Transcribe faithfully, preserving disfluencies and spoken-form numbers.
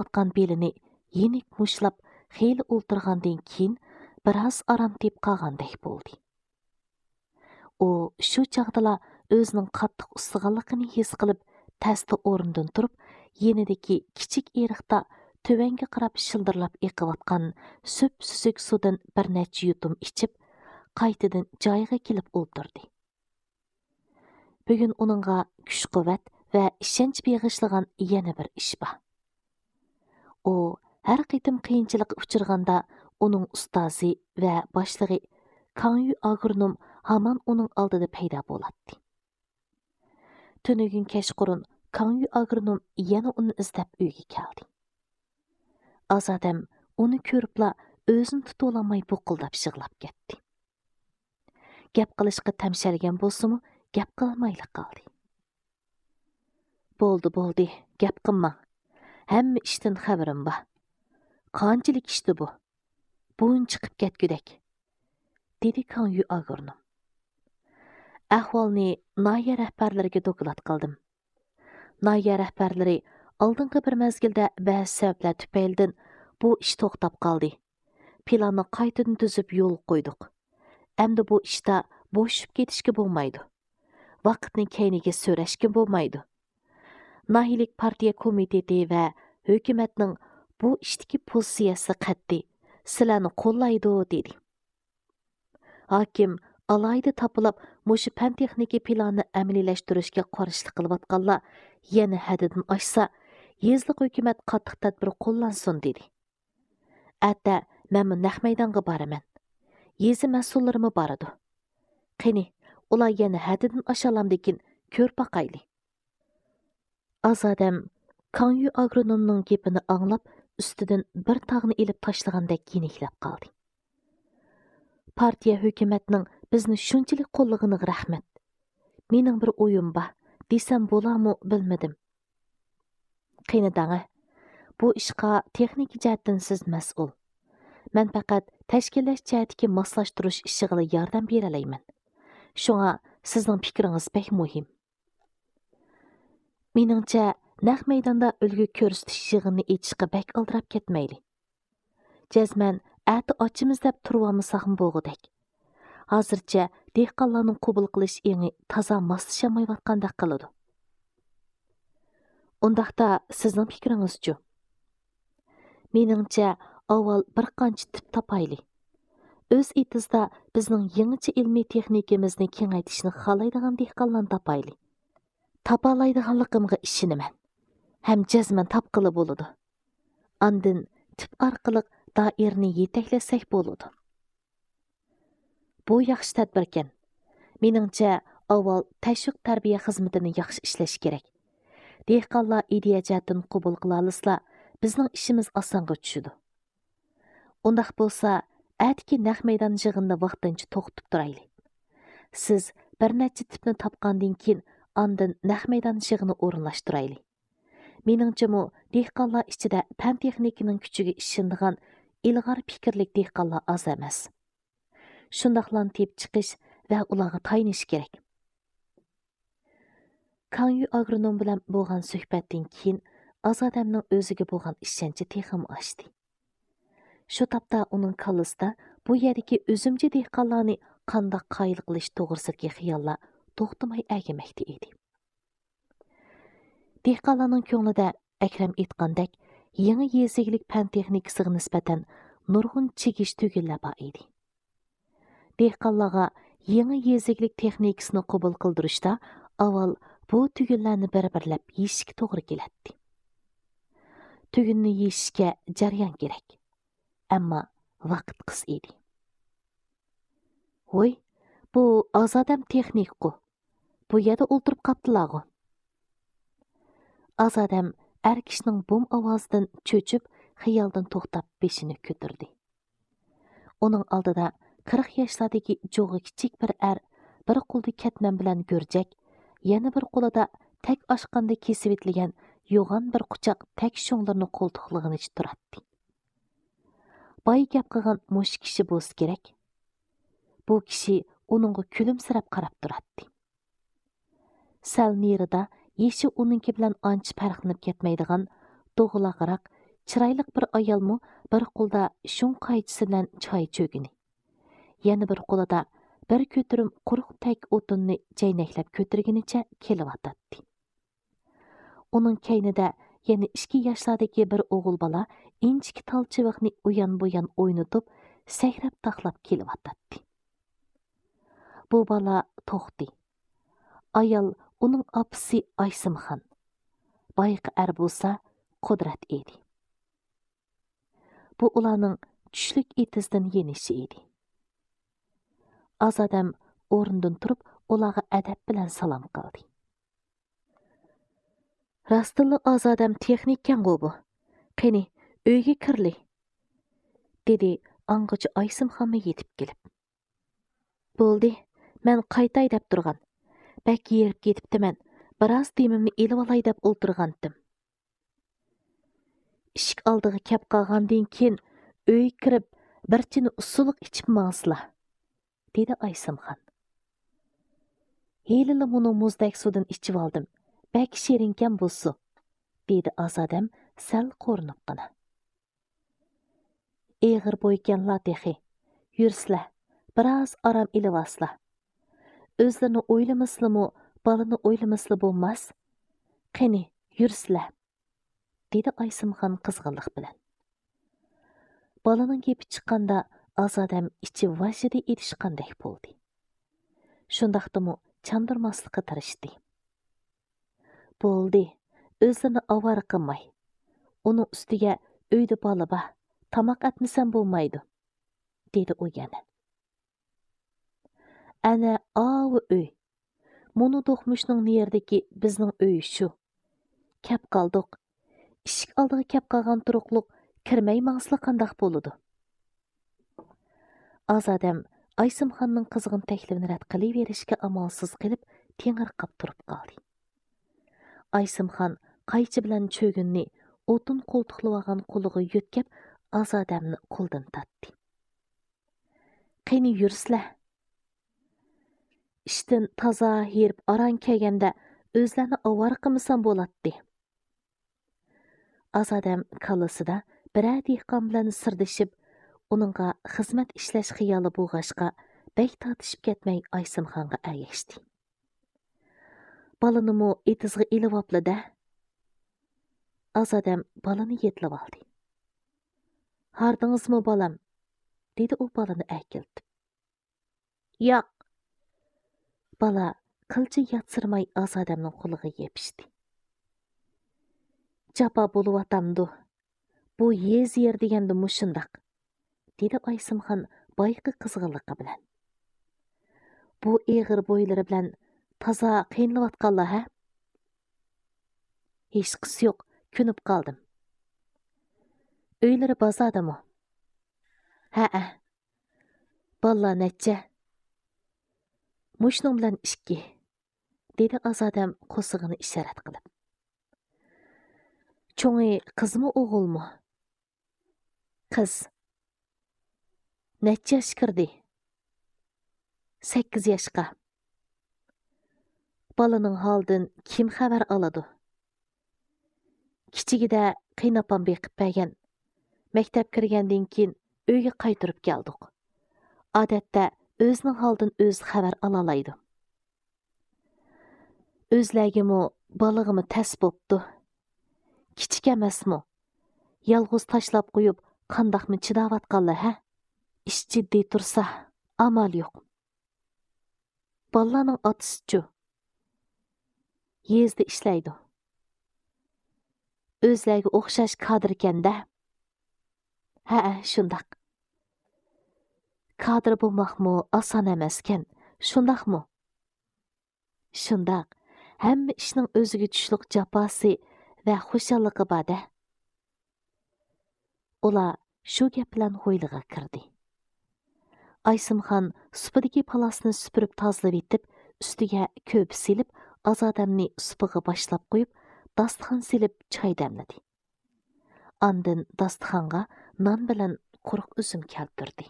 ئېغىرلىشىۋاتقان بېلىنى يېنىك مۇشتلاپ، خېلى ئولتۇرغاندىن كېيىن، بىراز ئارام تېپىپ قالغاندەك بولدى. ئۇ شۇ چاغدىلا ئۆزىنىڭ قاتتىق ئۇسسىغانلىقىنى ھېس قىلىپ، تەستە ئورنىدىن تۇرۇپ، يېنىدىكى كىچىك ئېرىقتا تۆۋەنگە قاراپ شىلدىرلاپ ئېقىۋاتقان سۈپسۈزۈك سۇدىن بىر نەچچە يۇتۇم ئىچىپ، قايتىدىن جايىغا كېلىپ ئولتۇردى. بۈگۈن ئۇنىڭغا كۈچ-قۇۋۋەت ۋە ئىشەنچ بېغىشلىغان يەنە بىر ئىش بار. ئۇ ھەر قېتىم قىيىنچىلىققا ئۇچرىغاندا، ئۇنىڭ ئۇستازى ۋە باشلىقى كاڭيۈ ئاگرونوم ھامان ئۇنىڭ ئالدىدا پەيدا بولاتتى. تۈنۈگۈن كەچقۇرۇن كاڭيۈ ئاگرونوم يەنە ئۇنى ئىزدەپ ئۆيگە كەلدى. ئازادەم ئۇنى كۆرۈپلا ئۆزىنى تۇتۇۋالالماي بۇقۇلداپ يىغلاپ كەتتى. گەپ قىلىشقا تەمشەلگەن بولسىمۇ، گەپ قىلالمايلا قالدى. بولدى، بولدى، گەپ قىلماڭ. ھەممە ئىشتىن خەۋىرىم بار. قانچىلىك ئىشتى بۇ؟ بۇنچە چىقىپ كەتكۈدەك، دېدى كاڭيۈ ئاگرونوم. ئەھۋالنى ناھىيە رەھبەرلىرىگە دوكلات قىلدىم. ناھىيە رەھبەرلىرى ئالدىنقى بىر مەزگىلدە بەزى سەۋەبلەر تۈپەيلىدىن بۇ ئىش توختاپ قالدى. پىلاننى قايتىدىن تۈزۈپ يولغا قويدۇق. ئەمدى بۇ ئىشتا بوشىشىپ كېتىشكە بولمايدۇ. ۋاقىتنى كەينىگە سۆرەشكە بولمايدۇ. ناھىيىلىك پارتىيە كومىتېتى ۋە ھۆكۈمەتنىڭ بۇ ئىشتىكى پوزىتسىيەسى قەتئىي، سىلەرنى قوللايدۇ، دېدى. ھاكىم ئالاھىدە تاپىلاپ مۇشۇ پەن-تېخنىكا پىلانىنى ئەمەلىيلەشتۈرۈشكە قارشىلىق قىلىۋاتقانلار يەنە ھەددىدىن ئاشسا، يېزىلىق ھۆكۈمەت قاتتىق تەدبىر قوللانسۇن، دېدى. ئەتە مەنمۇ نەق مەيدانغا بارىمەن. يېزا مەسئۇللىرىمۇ بارىدۇ. قېنى، ئۇلار يەنە ھەددىدىن ئاشالامدىكىن، كۆرۈپ باقايلى. ئازادەم كاڭيۈ ئاگرونومنىڭ گېپىنى ئاڭلاپ، ئۈستىدىن بىر تاغنى ئېلىپ تاشلىغاندەك يېنىكلەپ قالدى. پارتىيە ھۆكۈمەتنىڭ بىزنى شۇنچىلىك قوللىغىنىغا رەھمەت. مېنىڭ بىر ئويۇم بار، دېسەم بولارمۇ بىلمىدىم. قېنى دەڭە، بۇ ئىشقا تېخنىكا جەھەتتىن سىز مەسئۇل. مەن پەقەت تەشكىللەش جەھەتتىكى ماسلاشتۇرۇش ئىشىغىلا ياردەم بېرەلەيمەن. شۇڭا سىزنىڭ پىكرىڭىز بەك مۇھىم. مېنىڭچە، نەق مەيداندا ئۈلگە كۆرسىتىش يىغىنىنى ئېچىشقا بەك ئالدىراپ كەتمەيلى. جەزمەن ئەتە ئاچىمىز دەپ تۇرۇۋالمىساقمۇ بولغۇدەك. ھازىرچە دېھقانلارنىڭ قوبۇل قىلىش ئېڭى تازا ماسلىشالمايۋاتقاندەك قىلىدۇ. ئۇنداقتا سىزنىڭ پىكرىڭىزچۇ؟ مېنىڭچە، ئاۋۋال بىر قانچە تىپ تاپايلى. ئۆز ئېتىزىدا بىزنىڭ يېڭىچە ئىلمىي تېخنىكىمىزنى كېڭەيتىشنى خالايدىغان دېھقانلارنى تاپايلى. تاپالايدىغانلىقىمغا ئىشىنىمەن. ھەم جەزمەن تاپقىلى بولىدۇ. ئاندىن تىپ ئارقىلىق دائىرىنى يېتەكلەتسەك بولىدۇ. بۇ ياخشى تەدبىركەن. مېنىڭچە، ئاۋۋال تەشۋىق تەربىيە خىزمىتىنى ياخشى ئىشلەش كېرەك. دېھقانلار ئىدىيە جەھەتتىن قوبۇل قىلالىسىلا، بىزنىڭ ئىشىمىز ئاسانغا چۈشىدۇ. ئۇنداق بولسا، ئەتىكى نەق مەيدان يىغىنىنى ۋاقتىنچە توختىتىپ تۇرايلى. سىز بىر نەچچە تىپنى تاپقاندىن كېيىن، ئاندىن نەق مەيدان يىغىنى ئورۇنلاشتۇرايلى. مېنىڭچىمۇ، دېھقانلار ئىچىدە پەن-تېخنىكىنىڭ كۈچىگە ئىشىنىدىغان ئىلغار پىكىرلىك دېھقانلار ئاز ئەمەس. شۇنداقلارنى تېپىپ چىقىش ۋە ئۇلارغا تايىنىش كېرەك. كاڭيۈ ئاگرونوم بىلەن بولغان سۆھبەتتىن كېيىن، ئازادەمنىڭ ئۆزىگە بولغان ئىشەنچى تېخىمۇ ئاشتى. شۇ تاپتا ئۇنىڭ كاللىسىدا بۇ يەردىكى ئۈزۈمچى دېھقانلارنى قانداق قايىل قىلىش توغرىسىدىكى خىياللار توختىماي ئەگىمەكتە ئىدى. دېھقانلارنىڭ كۆڭلىدە، ئەكرەم ئېيتقاندەك، يېڭى يېزا ئىگىلىك پەن تېخنىكىسىغا نىسبەتەن نۇرغۇن چىگىش تۈگۈنلەر بار ئىدى. دېھقانلارغا يېڭى يېزا ئىگىلىك تېخنىكىسىنى قوبۇل قىلدۇرۇشتا ئاۋۋال بۇ تۈگۈنلەرنى بىر-بىرلەپ يېشىشكە توغرا كېلەتتى. تۈگۈننى يېشىشكە جەريان كېرەك. ئەمما ۋاقىت قىس ئىدى. ۋوي، بۇ ئازادەم تېخنىكقۇ. بۇ يەردە ئولتۇرۇپ قاپتىلاغۇ. ئازادەم ئەر كىشىنىڭ بوم ئاۋازىدىن چۆچۈپ، خىيالدىن توختاپ بېشىنى كۆتۈردى. ئۇنىڭ ئالدىدا قىرىق ياشلاردىكى جۇغى كىچىك بىر ئەر، بىر قولىدا كەتمەن بىلەن گۈرجەك، يەنە بىر قولىدا تەك ئاشقاندا كېسىۋېتىلگەن يوغان بىر قۇچاق تەك شۇڭلىرىنى قولتۇقلىغىنىچە تۇراتتى. بايا گەپ قىلغان مۇشۇ كىشى بولسا كېرەك. بۇ كىشى ئۇنىڭغا كۈلۈمسىرەپ قاراپ تۇراتتى. سەل نېرىدا يېشى ئۇنىڭكى بىلەن ئانچە پەرقلىنىپ كەتمەيدىغان دوغىلاقراق، چىرايلىق بىر ئايالمۇ بىر قولىدا شۇڭ قايچىسى بىلەن چاي چۆگىنى، يەنە بىر قولىدا بىر كۆتۈرۈم قۇرۇق تەك ئوتۇننى جەينەكلەپ كۆتۈرگىنىچە كېلىۋاتاتتى. ئۇنىڭ كەينىدە يەنە ئىككى ياشلاردىكى بىر ئوغۇل بالا ئىنچىكە تال چىۋىقنى ئۇيان-بۇيان ئوينىتىپ، سەكرەپ تاقلاپ كېلىۋاتاتتى. بۇ بالا توختى. ئايال ئۇنىڭ ئاپىسى ئايسىمخان. بايىقى ئەر بولسا قۇدرەت ئىدى. بۇ ئۇلارنىڭ چۈشلۈك ئېتىزدىن يېنىشى ئىدى. ئازادەم ئورنىدىن تۇرۇپ، ئۇلارغا ئەدەپ بىلەن سالام قىلدى. راستتىنلا ئازادەم تېخنىككەنغۇ بۇ. قېنى، ئۆيگە كىرلى، دېدى ئاڭغىچە ئايسىمخانمۇ يېتىپ كېلىپ. بولدى، مەن قايتاي دەپ تۇرغان. بەك ھېرىپ كېتىپتىمەن. بىراز دېمىمنى ئېلىۋالاي دەپ ئولتۇرغانتىم. ئىشىك ئالدىغا كەپ قالغاندىن كېيىن، ئۆيگە كىرىپ، بىر چىنە ئۇسسۇلۇق ئىچىپ ماڭسىلا، دېدى ئايسىمخان. ھېلىلا مۇنۇ مۇزدەك سۇدىن ئىچىۋالدىم. بەك شېرىنكەن بۇ سۇ، دېدى ئازادەم سەل قورۇنۇپقىنا. ئېغىر بويكەنلا تېخى. يۈرسىلە، بىراز ئارام ئېلىۋالسىلا. ئۆزلىرىنى ئويلىمىسىلىمۇ، بالىنى ئويلىمىسىلا بولماس. قېنى، يۈرسىلە، دېدى ئايسىمخان قىزغىنلىق بىلەن. بالىنىڭ گېپى چىققاندا ئازادەم ئىچى ۋاژىدە ئېلىشقاندەك بولدى. شۇنداقتىمۇ چاندۇرماسلىققا تىرىشتى. بولدى، ئۆزلىرىنى ئاۋارە قىلماي. ئۇنىڭ ئۈستىگە ئۆيدە بالا بار، تاماق ئەتمىسەم بولمايدۇ، دېدى ئۇ يەنە. ئەنە ئاۋۇ ئۆي. مۇنۇ دوقمۇشنىڭ نېرىدىكى بىزنىڭ ئۆي شۇ. كەپ قالدۇق. ئىشىك ئالدىغا كەپ قالغان تۇرۇقلۇق كىرمەي ماڭسىلا قانداق بولىدۇ؟ ئازادەم ئايسىمخاننىڭ قىزغىن تەكلىپىنى رەت قىلىۋېرىشكە ئامالسىز قېلىپ، تېڭىرقاپ تۇرۇپ قالدى. ئايسىمخان قايچا بىلەن چۆگۈننى ئوتۇن قولتۇقلىۋالغان قولىغا يۆتكەپ، ئازادەمنى قولىدىن تارتتى. قېنى يۈرسىلە. ئىشتىن تازا ھېرىپ ئاران كەلگەندە ئۆزلەرنى ئاۋارە قىلمىسام بولاتتى. ئازادەم كاللىسىدا بىرەر دېھقان بىلەن سىردىشىپ، ئۇنىڭغا خىزمەت ئىشلەش خىيالى بولغاچقا، بەك تارتىشىپ كەتمەي ئايسىمخانغا ئەگەشتى. بالىنىمۇ ئېتىزغا ئېلىۋاپلا-دە. ئازادەم بالىنى يېتىلىۋالدى. ھاردىڭىزمۇ، بالام؟ دېدى ئۇ بالىنى ئەركىلىتىپ. ياق. بالا قىلچە ياتسىرىماي ئازادەمنىڭ قولىغا يېپىشتى. جاپا بولۇۋاتامدۇ؟ بۇ يېزا يېرى دېگەندە مۇشۇنداق، دېدى ئايسىمخان بايىقى قىزغىنلىقى بىلەن. بۇ ئېغىر بويلىرى بىلەن تازا قىينىلىۋاتقانلا ھە؟ ھېچقىسى يوق، كۆنۈپ قالدىم. ئۆيلىرى بازاردىمۇ؟ ھەئە. بالىلار نەچچە؟ مۇشۇنىڭ بىلەن ئىككى، دېدى ئازادەم قورسىقىنى ئىشارەت قىلىپ. چوڭى قىزمۇ ئوغۇلمۇ؟ قىز. نەچچە ياشقا كىردى؟ سەككىز ياشقا. بالىنىڭ ھالىدىن كىم خەۋەر ئالىدۇ؟ كىچىكىدە قېيىنئاپام بېقىپ بەرگەن. مەكتەپ كىرگەندىن كېيىن ئۆيگە قايتۇرۇپ كەلدۇق. ئادەتتە ئۆزىنىڭ ھالىدىن ئۆزى خەۋەر ئالالايدۇ. ئۆزلەرگىمۇ، بالىغىمۇ تەس بوپتۇ. كىچىك ئەمەسمۇ؟ يالغۇز تاشلاپ قويۇپ، قانداقمۇ چىداۋاتقانلا ھە؟ ئىش جىددىي تۇرسا، ئامال يوق. بالىلارنىڭ ئاتىسىچۇ؟ يېزىدا ئىشلەيدۇ. ئۆزلەرگە ئوخشاش كادىركەن-دە. ھەئە، شۇنداق. كادىر بولماقمۇ ئاسان ئەمەسكەن، شۇنداقمۇ؟ شۇنداق، ھەممە ئىشنىڭ ئۆزىگە چۈشلۈق جاپاسى ۋە خۇشاللىقى بار-دە. ئۇلار شۇ گەپ بىلەن ھويلىغا كىردى. ئايسىمخان سۇپىدىكى پالاسنى سۈپۈرۈپ تازىلىۋېتىپ، ئۈستىگە كۆرپە سېلىپ، ئازادەمنى سۇپىغا باشلاپ قويۇپ، داستىخان سېلىپ چاي دەملىدى. ئاندىن داستىخانغا نان بىلەن قۇرۇق ئۈزۈم كەلتۈردى.